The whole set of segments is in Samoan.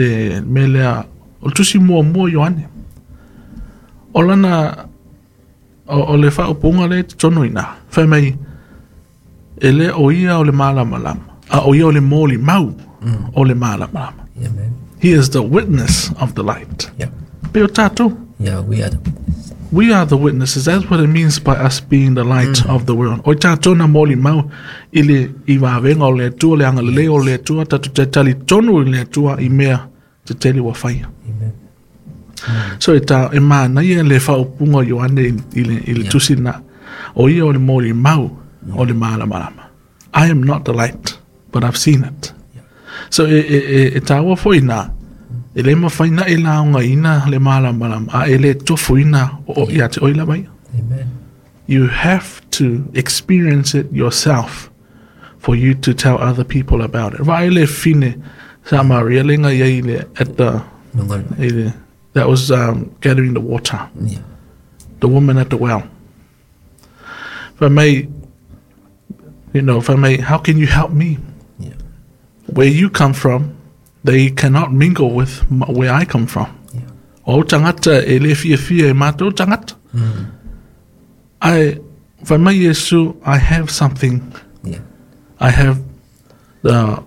Le mea lea, o le tusi muamua o Ioane. O lana, o le faaupuga lea i totonu i ina, fai mai, e le o ia o le malamalama, a o ia o le molimau o le malamalama. Amen. He is the witness of the light. Pei o tatou. Yeah, we are the We are the witnesses. That's what it means by us being the light of the world. O tatou na molimau i le i vavega o le Atua, le agalelei o le Atua, tatou te talitonu i le Atua i mea tetele ua faia. Amen. So e ta e manaia le faaupuga o Ioane i le tusi na. O ia o le molimau o le malamalama. I am not the light, but I've seen it. So e taua foi na, e le mafai na e laogaina le malamalama, a e le tofuina o ia te oi lava ia. Amen. You have to experience it yourself for you to tell other people about it. Vaai le fine Samaria lenga ia i le at the Nonga. i le, that was gathering the water. The woman at the well. Fai mai, fai mai, "How can you help me? Where you come from, they cannot mingle with where I come from." O tagata e le fiafia e mātou tagata. Ai, fai mai Iesu, "I have something. I have the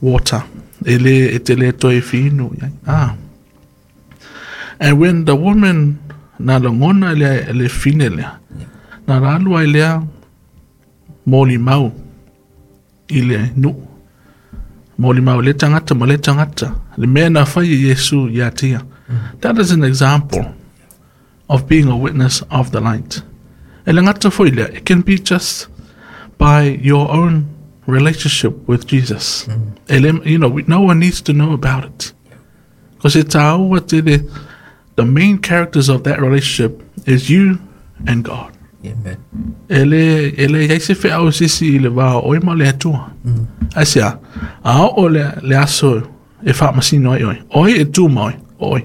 water. E le, e te le toe finu. Ah. And when the woman na lagona le fine lea, na lalu ai lea molimau i le nuu. Molimau le tagata ma le tagata. Le mea na fai e Iesu ia tia. That is an example of being a witness of the light. E le gata foi lea, it can be just by your own relationship with Jesus. E le, no one needs to know about it. Because it's our the main characters of that relationship is you and God. Amen. E le iai se feau sisi i le va o oe ma le Atua. Ai sea, a o le aso e faamasino ai oe. Oe e tu ma oe, o oe.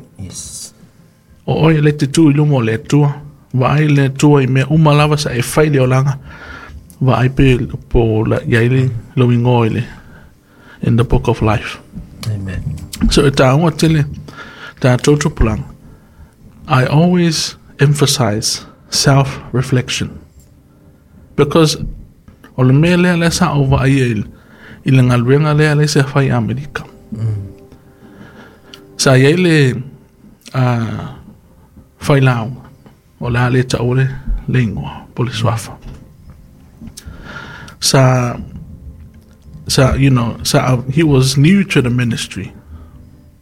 O oe le te tu i luma o le Atua. Vaai le Atua i mea uma lava sa e fai le olaga. Vaai pe po la, iai le lou igoa i le in the book of life. Amen. So e taua tele tatou tupulaga. I always emphasize self-reflection. Because o le mea lea lea sa ou vaai i le galuega lea lea sa fai i Amerika. Sa iai le failauga, o le a le taua le igoa po le suafa. Sa you know, sa he was new to the ministry.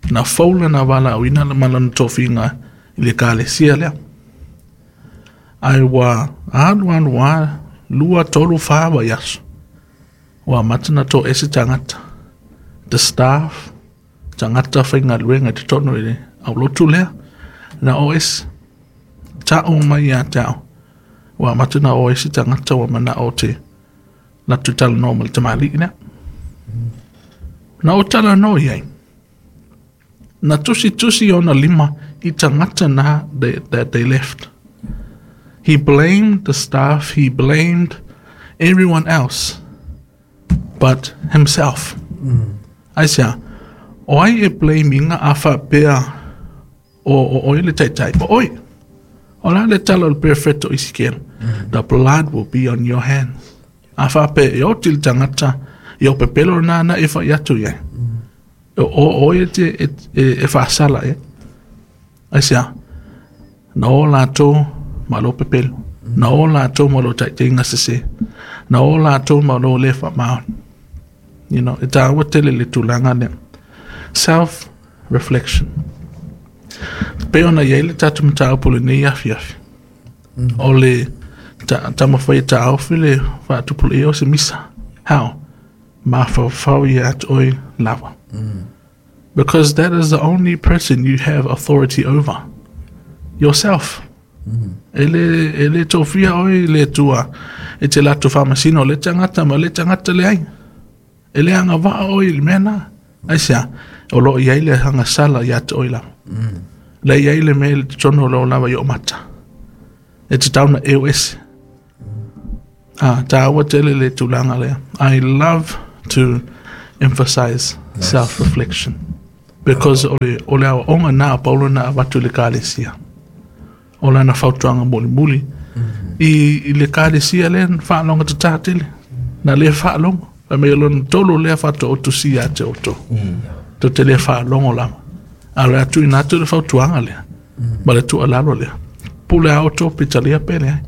Na fou lana valaauina ma lana tofiga i le ekalesia lea. Ai ua alu alu a 2, 3, 4 vaiaso. Ua amata na toese tagata. The staff, tagata faigaluega i totonu i le aulotu lea, na o ese. Ta'u mai ia te au. Ua amata na o ese tagata ua mana'o te latou talanoa ma le tamalii lea. Na o talanoa i ai. Na tusitusi ona lima i tagata na that they left. He blamed the staff, he blamed everyone else but himself. Ai sea, o ai e blame inga a faapea o oe le taitai, o oe. O la le tala o le perfecto Ezekiel. The blood will be on your hands. A faapea e oti le tagata, i o pepelo na na e fai atu iai. O oe e te e faasala e. Ai sea, na o latou ma lo pepelo. Na o latou ma lo taitaiga sese. Na o latou ma lo le faamaoni. E taua tele le tulaga lea. Self-reflection. Pe ona iai le tatou mataupu lenei afiafi. O le taumafai e taofi le faatupulaia o se misa. How? Mafaufau ia te oe lava. Because that is the only person you have authority over. Yourself. E le tofia oe i le Atua e te latou faamasino le tagata ma le tagata leai. E le agavaa oe i le mea na. Ai sea, o loo iai le agasala ia te oe lava. Le iai le mea i le totonu o lou lava i o mata. E te tau na eo ese. Ah, taua tele le tulaga lea. I love to emphasize self-reflection. Because o le aoaoga na a Paulo na avatu i le ekalesia. O lana fautuaga mulimuli i le ekalesia lea na faalogotatā tele. Na le faalogo. Fai mai o lona tolu lea faatoa ou tusia ia te outou. Tou te le faalogo lava. A o le a tuuina atu le fautuaga lea ma le tuualalo lea. Pule lava outou pe talia pe leai.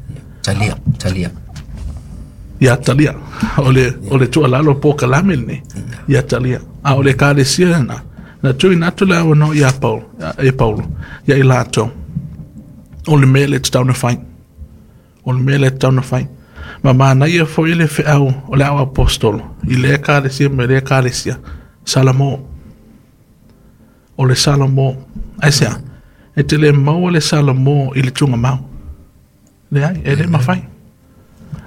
Talia, talia. Ia talia. O le tuualalo polokalame lenei. Ia talia. A o le ekalesia lena, na tuuina atu le avanoa ia Paulo, e Paulo, ia i latou. O le mea lea e tatau ona fai. O le mea lea e tatau ona fai. Ma manaia foi le feau o le au apostolo i lea ekalesia ma lea ekalesia. Salamo. O le Salamo. Aisea? E te le maua le Salamo i le tugamau. Leai, e le mafai.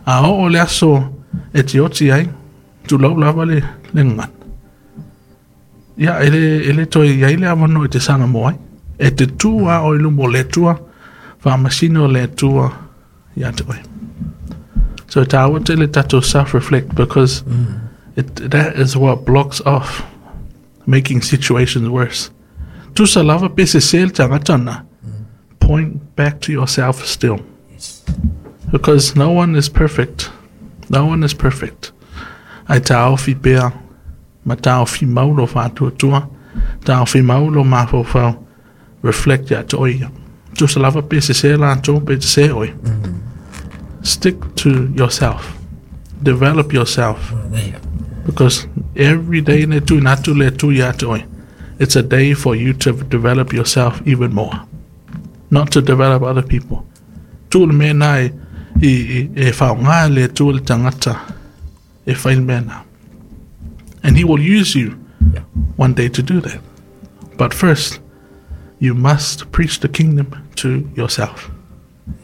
A oo le aso e te oti ai, tulou lava le gagana. Ia, e le toe i ai le avanoa e te Salamo ai. E te tu lava oe i luma o le Atua, faamasino le Atua ia te oe. So e tāua tele tatou self-reflect because that is what blocks off making situations worse. Tusa lava pe sese le tagata na, point back to yourself still. Yes. Because no one is perfect. No one is perfect. Ae taofi pea, ma taofi mau lo faatuatua, taofi mau lo mafaufau, reflect ia te oe ia. Tusa lava pe sese latou pe sese oe. Stick to yourself. Develop yourself. Because every day ne tuuina atu le Atua ia te oe. It's a day for you to develop yourself even more. Not to develop other people. Tuu le mea na e faaaoga le Atua le tagata e fai le mea na. And he will use you one day to do that. But first, you must preach the kingdom to yourself.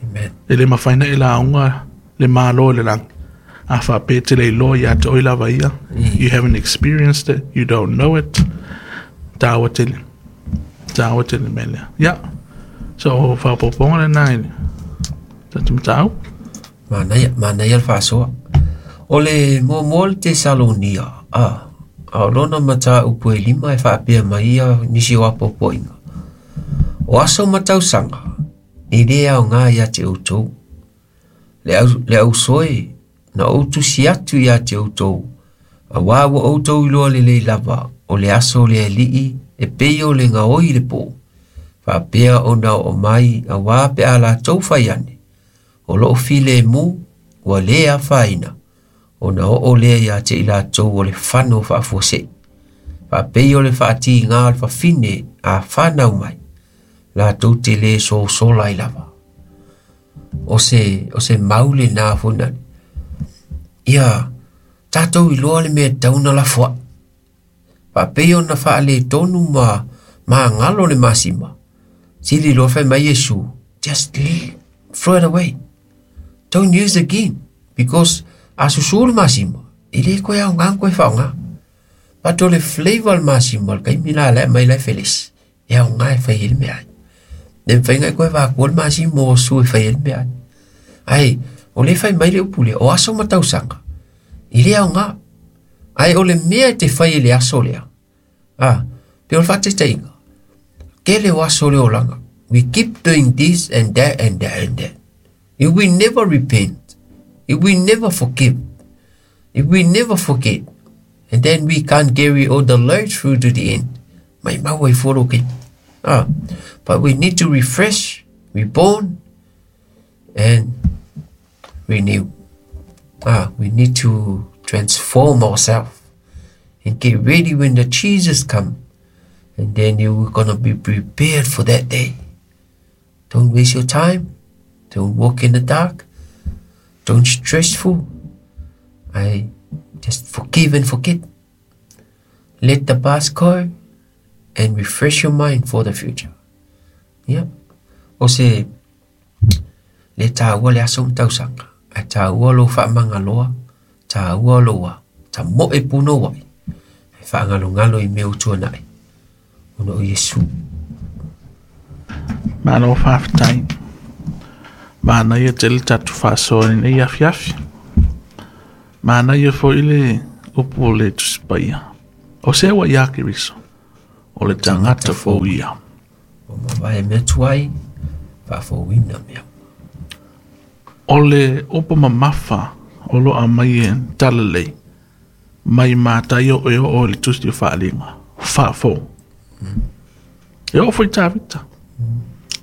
Amen. E le mafai ona e lauga le Malo i le lagi. A faapea e te le iloa ia te oe lava ia. You haven't experienced it, you don't know it. Tāua tele. Tāua tele mea lea. Ia. So, faaopoopoga lena i le tatou mataupu. Manaia, manaia le faasoa. O le muamua o le Tesalonia, a, a o lona mataupu e lima e faapea mai ia nisi o apoapoaiga. O aso ma tausaga, e le aoga ia te outou. Le au, le ausoe, na ou tusi atu ia te outou, auā ua outou iloa lelei lava o le aso o le Alii e pei o le gaoi i le pō, faapea ona oo mai auā pe a latou fai ane, o loo filemu ua lē afaina, ona oo lea iā te i latou o le fano faafuasei, faapei o le faatīgā o le fafine a fanau mai, latou te lē sosola ai lava. O se, o se mau lenā foi nani. Ia, tatou iloa le mea e tatau ona lafoai. Faapei ona faaletonu ma magalo le masima. Sili loa fai mai Iesu, just leave, throw it away. Don't use again because a susu le masima, e le koe aoga ona koe faaaoga. But o le flavor o le masima o le taimi la la e aumai la e felesi, e aoga e fai ai le meaai. Le mafai ona e koe vaakua le masima o su e fai ai le meaai. Ae o lea e fai mai le upu lea, o aso ma tausaga, e le aoga. Ae o le mea e te fai i le aso lea, a, pei o le faataitaiga, tele o aso o le olaga, we keep doing this and that and that and that. If we never repent, if we never forgive, if we never forget, and then we can't carry all the load through to the end. Mai mau ai fua lou keiki. Ah, but we need to refresh, reborn, and renew. Ah, we need to transform ourselves and get ready when the Jesus come. And then you're gonna be prepared for that day. Don't waste your time. Don't walk in the dark. Don't stressful. I just forgive and forget. Let the past go and refresh your mind for the future. Yeah. O se le tāua le aso ma tausaga, ae tāua lou faamagaloa, tāua lou a, tamoe punouai, e faagalogalo i mea ua tuanai, ona o Iesu. Malo faafetai. Manaia tele tatou faasoa i lenei afiafi. Manaia foi le upu o le Tusi Paia. O se ua ia Keriso. O le tagata fou ia. Ua mavae mea tuai, faafouina mea. O le upu mamafa o lo o aumai e Talalelei mai Mataio e oo i le Tusi o Faaaliga, faafou. E oo foi Tavita.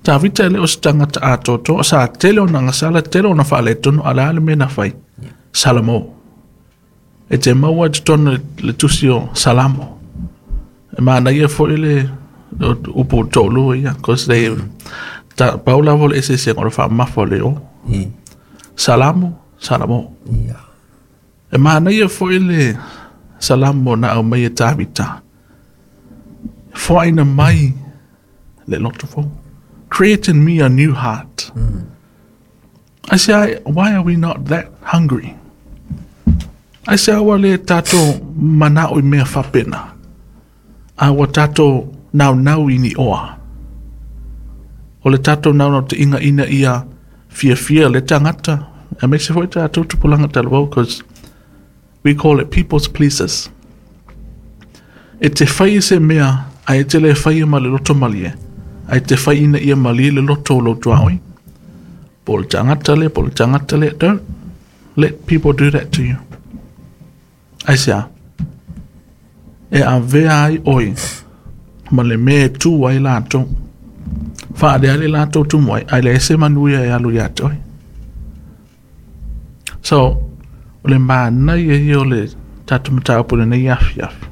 Tavita e le o se tagata atoatoa, sa tele ona gasala, tele ona faaletonu, a o le a le mea na fai? Salamo. E te maua i totonu le Tusi o Salamo. E manaia foi le upu toalua ia, cause they, ta, pau lava o le eseesega o le faamamafa o le o. Salamo, Salamo. E manaia foi le Salamo na aumai e Tavita. Foaina mai le loto fou. Create in me a new heart. I say, why are we not that hungry? Aisea ua le tatou manao i mea faapena, a ua tatou naunau i ni oa. O le tatou naunautaiga ina ia fiafia le tagata, aemaise foi tatou tupulaga talavou, because we call it people's pleasers. E te fai i se mea, ae e te le faia ma le loto malie, ae e te fai ina ia malie le loto o lou tuaoi. Po o le tagata lea, po o le tagata lea, don't let people do that to you. Aisea? E avea ai ʻoe ma le mea e tū ai latou. Faaaleale latou tumu ai, ae leai se manuia e alu ia te oe. So, o le manaia ia o le tatou mataupu i lenei afiafi.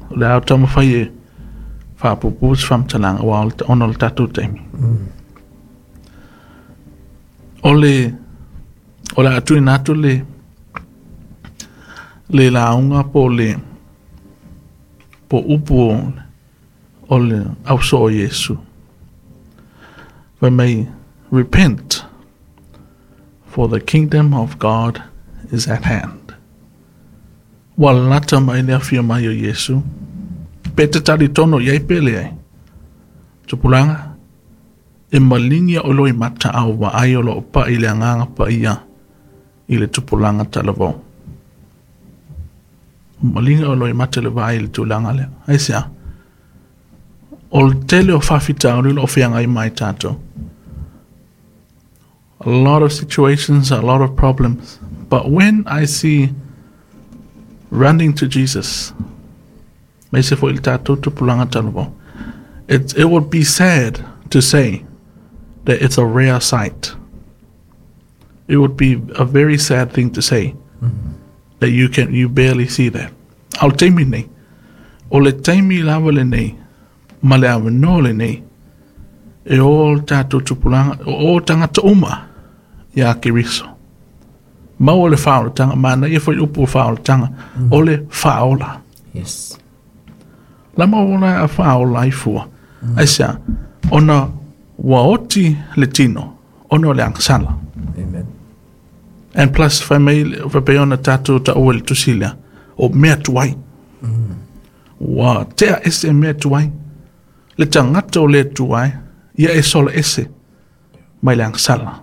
O le a ou taumafai e faapuupuu se faamatalaga aua ona o le tatou taimi. O le o le a tuuina atu le le lauga po o le po o upu o, o le ausoo o Iesu. Fai mai, repent, for the kingdom of God is at hand. Ua lata mai le afio mai o Iesu. Pe te talitonu i ai pe leai. Tupulaga, e maligi a ʻoe loimata a o vaai o lo o pai le Agaga Paia i le tupulaga talavou. Maligi ʻoe loimata i le vaai i le tulaga lea. Aisea? O le tele o faafitauli o lo o feagai ma i tatou. A lot of situations, a lot of problems. But when I see running to Jesus, aemaise foi le tatou tupulaga talavou, it would be sad to say that it's a rare sight. It would be a very sad thing to say that you can you barely see that. A o le taimi lenei, o le taimi lava lenei ma le avanoa lenei e o le tatou tupulaga, o o tagata uma iā Keriso. Maua le faaolataga, manaia foi upu o faaolataga, o le faaola. Yes. Lama ola a faaola ai fua. Aisea? Ona ua oti le tino, ona o le agasala. Amen. And plus, fai mai, faapea ona tatou taua i le tusi lea, o mea tuai. Ua tea ese mea tuai. Le tagata o le Atua e, ia e sola ese mai le agasala.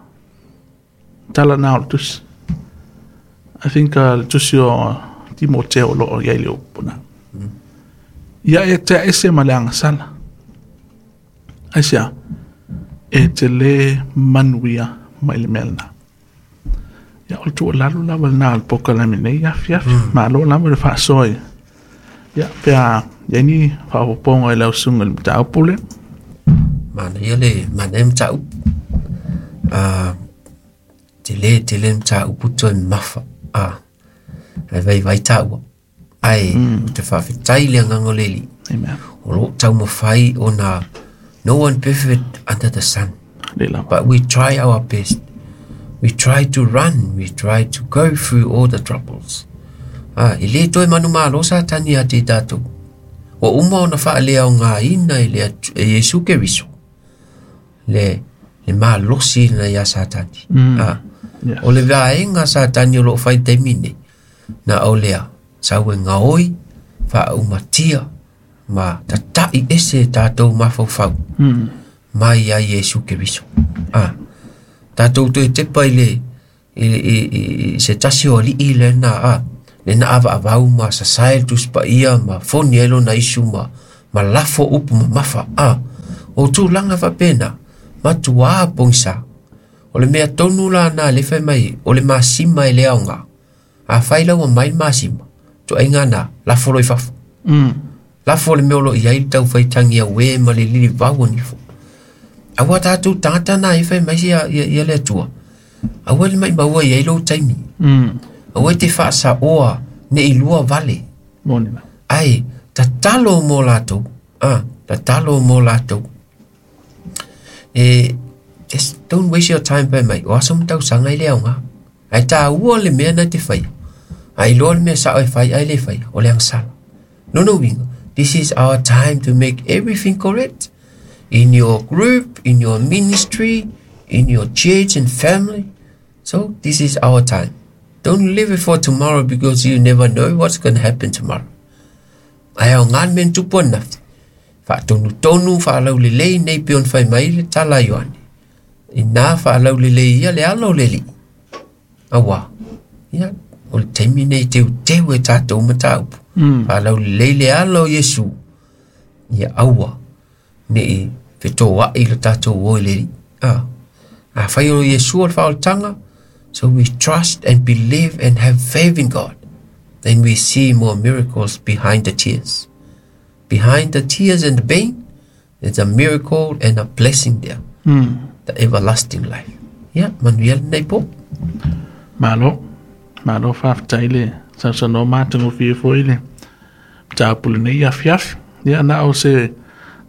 Tala na o le tusi. I think le tusi o Timoteo o lo o i ai le upu na. Ia e tea ese ma le agasala. Aisea? E te le manuia mai le mea lena. Ia, o le tuualalo lava lena o le polokalame nei afiafi. Malo lava le faasoa i ia, pe a i ai ni faaopoopoga i lau susuga i le mataupu lea. Manaia le manaia mataupu. Tele tele mataupu toe mamafa. Ae vaivai taua. Ae ou te faafetai i le agaga o le Alii. Amen. O lo o taumafai ona no one perfect under the sun. Lea lava. But we try our best. We try to run, we try to go through all the troubles. Ah, e le toe manumalo Satani ia te tatou. Ua uma ona faaleaogaina e le e Iesu Keriso le le malosi lena ia Satani. Ah, Yes. o le vaega a Satani o lo o fai i le taimi nei, na o lea, sau e gaoi, faaumatia, ma tata'i ese e tatou mafaufau mai ia Iesu Keriso. Ah, tatou toe tepa i le i, i, i, i se tasi o alii lena a lena avaavau ma sasae le Tusi Paia ma foni ai lona isu ma Ma lafo upu mamafa a. O tulaga faapena matuā pogisa. O le mea tonu lana le fai mai o le masima e le aoga. Afai la ua mai le masima, tuaiga na lafo loa i fafo. Lafo le mea o loo iai le taufaitagi auē ma le lilivau o nifo. Aua tatou tagata na e fai mai ia ia le Atua. Aua le maʻimaua iai lou taimi. Aua e te faasaoa nei lua vale. Moni la. Ae tatalo mo latou. Ah, tatalo mo latou. E just don't waste your time fai mai. O aso ma tausaga e le aoga. Ae tāua le mea na te faia. A iloa le mea sao e fai ae le faia, o le agasala. Lona uiga, this is our time to make everything correct. In your group, in your ministry, in your church and family. So this is our time. Don't leave it for tomorrow because you never know what's going to happen tomorrow. Ae aoga le mea na tupu ananafi. Faatonutonu faalaulelei nei pei ona fai mai le tala a Ioane. Ina faalaulelei ia le ala o le Alii. Auā, ia, o le taimi nei teuteu e tatou mataupu. Faalaulelei le ala o Iesu. Ia aua nei fetoaʻi lo tatou o i le Alii. Ah. Afai o Iesu o le faaolataga, so we trust and believe and have faith in God. Then we see more miracles behind the tears. Behind the tears and the pain, there's a miracle and a blessing there. The everlasting life. Ia, manuia lenei po. Malo, malo faafetai le sausaunoa matagofie foi le mataupu lenei afiafi. Ia na o se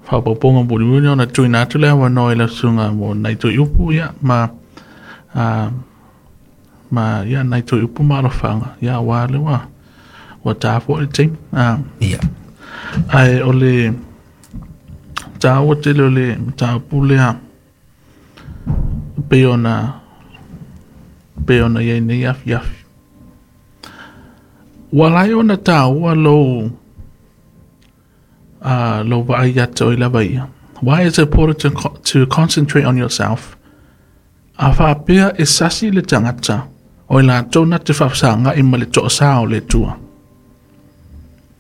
faaopoopoga mulimuli ona tuuina atu le avanoa i lau susuga mo nai toe upu ia ma a, ma ia nai toe upu ma alofaga ia auā le ua ua ta foi le taimi. A, Ia. ae o le taua tele o le mataupu lea pei ona pei ona i ai nei afiafi. Ua ala ai ona taua lou lou vaai ia te oe lava ia. Why is it important to concentrate on yourself? A faapea e sasi le tagata, o i latou na te faafesagaʻi ma le toasā o le Atua.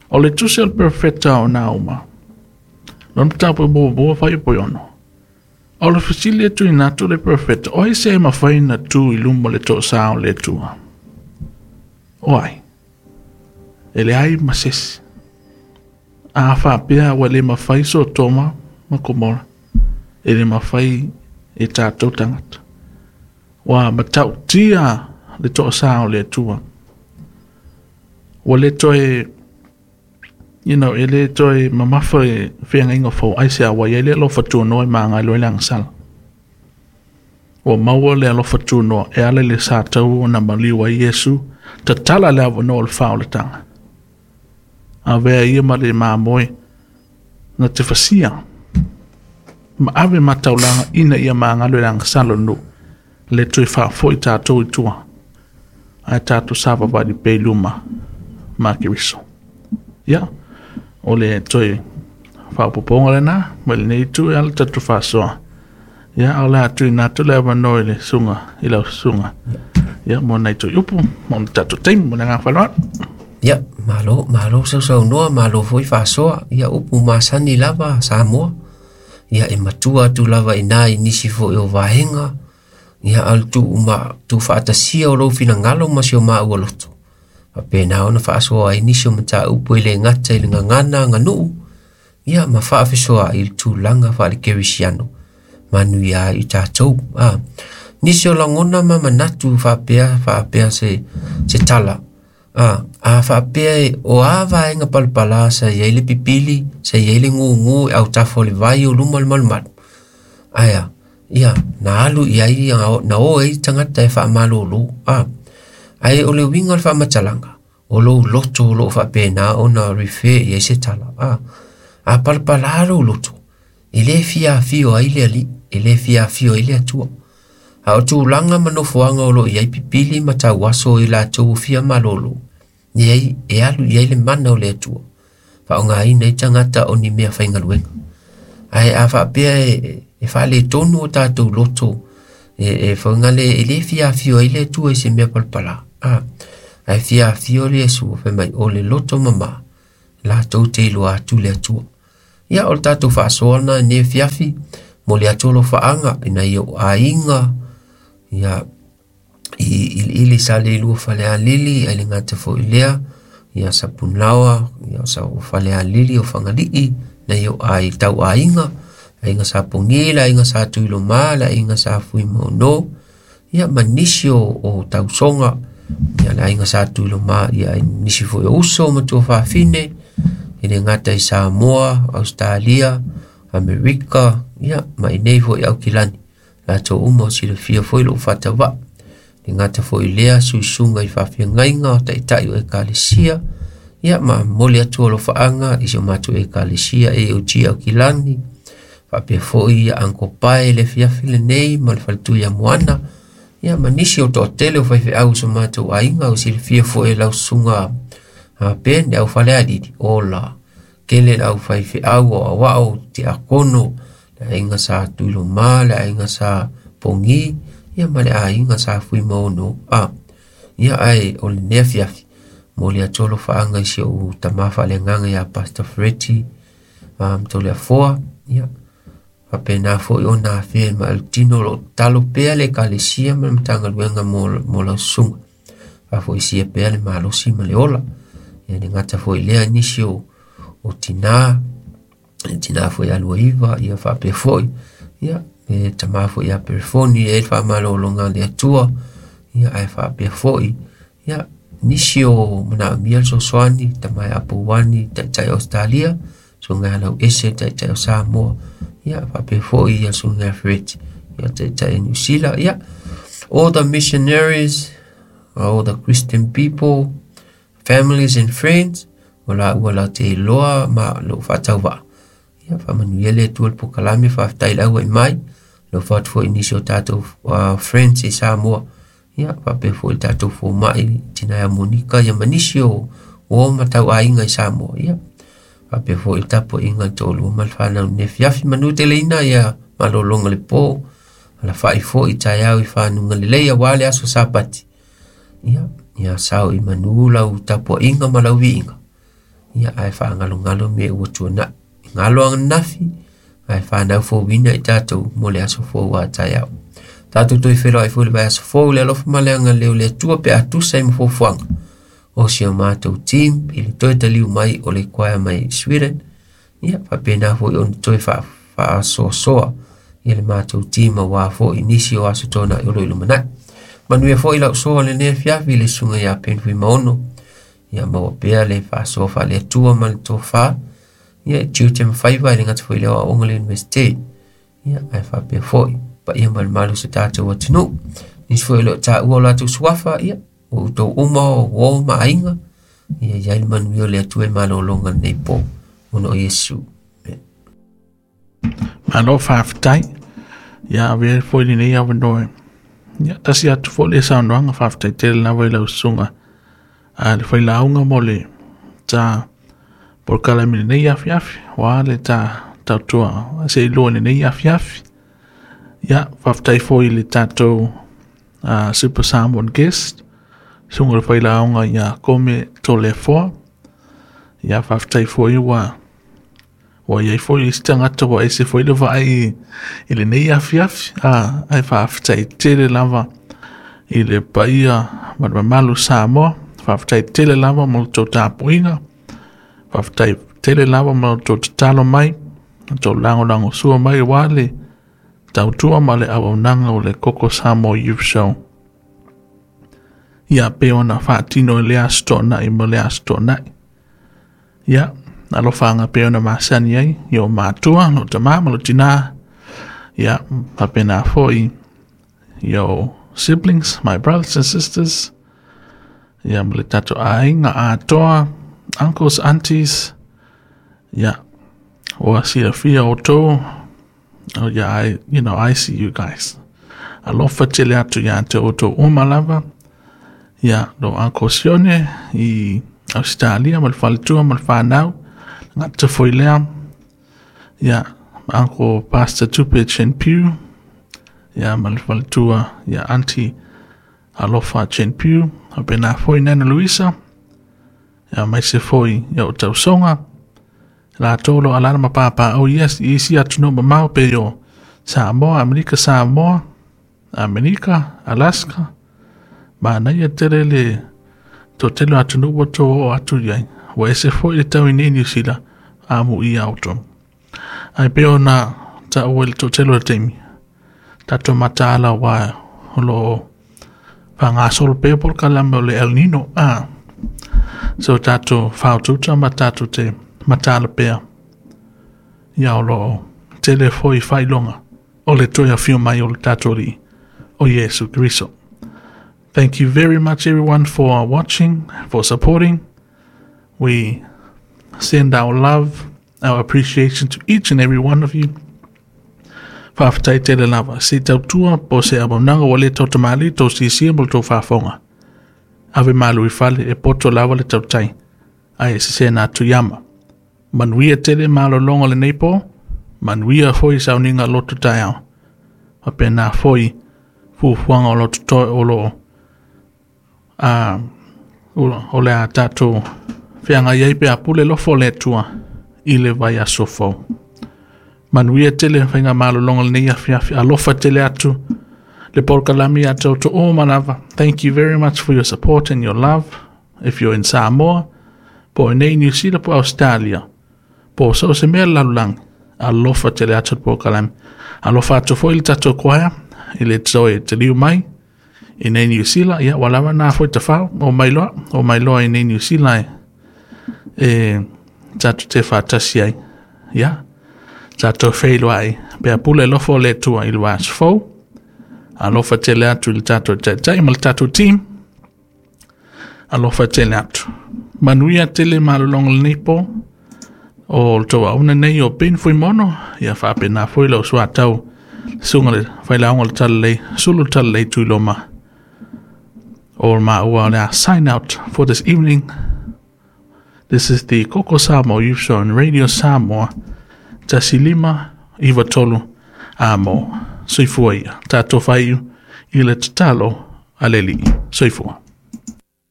O le tusi o le perofeta o Nauma, lona mataupu e muamua fuaiupu e 6. O le fesili e tuuina atu le perofeta, o ai se e mafai ona tu i luma o le toasā o le Atua? O ai? E leai ma se isi. A faapea ua le mafai Sotoma ma Komora, e le mafai e tatou tagata. Ua matautia le toasā o le Atua. Ua le toe, you know, e le toe mamafa e feagaiga fou aisea ua i ai le alofa tunoa e maga ai loa i le agasala. Ua maua le alofa tunoa e ala i le sa tau ona maliu ai Iesu, tatala le avanoa o le faaolataga. Avea ia ma le mamoe na te fasia ma ave ma taulaga ina ia magalo i le agasala o le nuu, le toe faafoi tatou i tua, ae tatou savavali pea i luma ma Keriso. Ia, o le toe faaopoopoga lena mai lenei itu e ala tatou faasoa. Ia, a o le a tuuina atu le avanoa i le susuga, i lau susuga. Ia, mo nai toe upu, mo le tatou taimi, mo le agaga faaaloalo. Ia, malo, malo sausaunoa, malo foi faasoa. Ia, upu masani lava Samoa. Ia, e matua atu lava i ina i nisi foi o vaega. Ia, a o le tuu tuufaatasia o lou finagalo ma si o maua loto. Faapena ona faasoa ai nisi o mataupu e le gata i le gagana aganuu. Ia, ma faafesoaai i le tulaga faale-kerisiano. Manuia ai i tatou. A, nisi o lagona ma manatu faapea faapea se se tala. A, a faapea e o a vaega palapala sa i ai le pipili, sa i ai le gugu e autafa o le vai o luma o le malumalu. Ae a, ia, na alu i ai na o ai tagata e faamalōlō. A, ae o le uiga o le faamatalaga, o lou loto o loo faapena ona refer i ai se tala. A, a palapala lou loto, e lē fiafio ai le Alii, e lē fiafio ai le Atua. A o tulaga ma nofoaga o loo i ai pipili ma tauaso i latou o fia malōlō, leai e alu i ai le mana o le Atua. Faaaogaina ai tagata o ni mea faigaluega. Ae a faapea e e faaletonu o tatou loto e faigale e lē fiafio ai le Atua i se mea palapala. A, ae fiafio le Iesu fai mai o le loto mamā latou te iloa atu le Atua. Ia o le tatou faasoa lena i lenei afiafi, momoli atu alofaaga i nai ou aiga, ia i iliili sa le lua Falealili, ae le gata foi i lea, ia Sapunaoa, ia Falealili o Fagalii, nai ou ai tau aiga, aiga sa Pogi, le aiga sa Tuiloma, le aiga sa Fuimaono, ia ma nisi o tausoga, ia le aiga sa Tuiloma, ia nisi foi o uso ma tuafafine, e le gata i Samoa, Australia, Amerika, ia ma inei foi Aukilani. Latou uma o silafia foi lou faatavaa. Le gata foi lea suisuga i faafeagaiga o taitai o ekalesia, ia ma momoli atu alofaaga i si o matou ekalesia AOG Aukilani, faapea foi ia Uncle Pae le afiafi lenei ma le faletui ia Moana, ia ma nisi o toatele o faifeau i so matou aiga o silafia foi e lau susuga Ben le au Falealili, ola tele le au faifeau o aoao tiakono, le aiga sa Tuiloma, le aiga sa Pogi, ia ma le aiga sa Fuimaono. Ia ae o lenei afiafi, momoli atu alofaaga i si ou tama faaleagaga ia Pastor Freddy Toleafoa, ia faapena foi ona afea ma le tino o lo o tatalo pea le ekalesia ma le Matagaluega mo lau susuga, faafoisia pea le malosi ma le ola. Ia le gata foi lea nisi o tina, tina foi ia Luaiva, ia faapea foi, ia e tama foi ia Perefoni, e faamalologa a le Atua, ia ae faapea foi, ia nisi o manaomia le fesoasoani, tama ia Apuani, taitai o Australia, susuga ia Lauese, taitai o Samoa, ia faapea foi ia susuga ia Fred, ia taitai o Niu Sila, ia all the missionaries, all the Christian people, families and friends, o la ua la te iloa ma lou faatauvaa. Ia faamanuia le Atua i le polokalame, faafetai i le auai mai, alofa atu foi i nisi o tatou friends i Samoa, ia faapea foi i le tatou fomai tina ia Monika, ia ma nisi o uo ma tauaiga i Samoa, ia faapea foi i le tapuaiga i le toalua ma le fanau i lenei afiafi. Manu teleina ia malologa le po, alafai foi i taeao i fanuga lelei aua le aso Sapati. Ia, ia sao i manu lau tapuaiga ma lau viiga, ia ae faagalogalo mea ua tuanai. Galo ananafi, ae whanau fouina i tatou mo le aso fou a taeao. Tatou toe feiloai foi i le vaiaso fou i le alofa ma le agalelei o le Atua pe a tusa ai ma fuafuaga o si o matou team i le toe taliu mai o le choir mai Sweden. Ia, faapena foi ona toe faasoasoa ia le matou team aua foi nisi o aso tuanai o lo o i lumanai. Manuia foi lau soa lenei afiafi i le susuga ia Ben Fuimaono. Ia maua pea le faasoa faale-Atua ma le tofa. Ia, e tiute ma faiva e le gata foi i le aoaoga i le Universite. Ia, ae faapea foi, paia ma le malu o se tatou atunuu. Nisi foi o lo o taua o latou suafa, ia, o outou uma o uo ma aiga, ia i ai le manuia o le Atua i malologa lenei po. Ona o Iesu. Amen. Malo faafetai. Ia avea foi lenei avanoa. Ia tasi atu foi le saunoaga faafetai tele lava i lau susuga a le failauga mo le ta polokalame lenei afiafi, ua le ta tautua se i lua lenei afiafi. Ia faafetai foi i le tatou Super Samoan guest, susuga le failauga ia Kome Toleafoa. Ia faafetai foi ua iai foi isi tagata ua ese foi le vaai i lenei afiafi. Ae faafetai tele lava i le paia ma le mamalu Samoa. Faafetai tele lava mo le tou tapuaiga. Faafetai tele lava mo le tou tatalo mai, le tou lagolago sua mai aua le tautua ma le auaunaga o le Koko Samoa Youth Show. Ia pe ona faatino i le aso toonai ma le aso toonai. Ia, alofaga pe ona masani ai, i o matua, lo tama ma lo tina. Ia, faapena foi i o siblings, my brothers and sisters. Ia, ma le tatou aiga atoa, uncles, aunties. Ia, ua silafia outou. Oh, yeah, I, you know, I see you guys. Alofa tele atu ia te outou uma lava. Ia, lo Uncle Sione i Australia ma le faletua ma le whanau. Ngata foi lea. Ia, Uncle Pastor Tupe Chen Piu. Ia, ma le faletua, ia, Auntie Alofa Chen Piu. A pena foi Nana Luisa. Ia, mai se foi ia o tausoga. Latou o lo o alaala ma papaaao i isi atunuu mamao pei o Samoa, Amerika Samoa, Amerika, Alaska. Manaia tele le toatele o atunuu ua tou oo atu i ai. Ua ese foi le tau i nei Niu Sila amuia outou. Ae pei ona taua i le toatele o le taimi, tatou mataala aua o lo o faagasolo pea polokalame o le El Nino. So tatou faaotuta ma tatou te mataala pea. Ia o lo o tele foi faailoga o le toe afio mai o le tatou Alii o Iesu Keriso. Thank you very much everyone for watching, for supporting. We send our love, our appreciation to each and every one of you. Faafetai tele lava. Se tautua po o se auaunaga ua le tautamalii tou siasia mo le tou faafofoga. Ave malu i fale e poto lava le tautai, ae e sesena atu i ama. Manuia tele malologa o lenei po, manuia foi sauniga loto taeao. Faapena foi fuafuaga o lo o totoe o lo o o le a tatou feagai ai pe a pule alofa o le Atua i le vaiaso fou. Manuia tele faigamalologa o lenei afiafi. Alofa tele atu le polokalame ia te outou uma lava. Thank you very much for your support and your love. If you're in Samoa, po o nei New Zealand po Australia, po o so o se mea lalolagi, alofa tele atu le polokalame. Alofa atu foi le tatou choir i le toe taliu mai i nei New Zealand. Ia, ua lava na foi tafao o mai loa, o mai loa i nei New Zealand e tatou te faatasi ai. Ia, tatou feiloai pe a pule alofa o le Atua i le vaiaso fou. Alofa tele atu i le tatou taitai ma le tatou team. Alofa tele atu. Manuia tele malologa o lenei po. O le tou auauna nei o Ben Fuimono, ia faapena foi lau suatau susuga le failaoga o le Talalelei, Sulu le Talalelei Tuiloma. O maua o le a sign out for this evening. This is the Koko Samoa Youth Show on Radio Samoa. 1593 amo. Soifua ia. Tatou faaiu i le tatalo a le Alii. Soifua.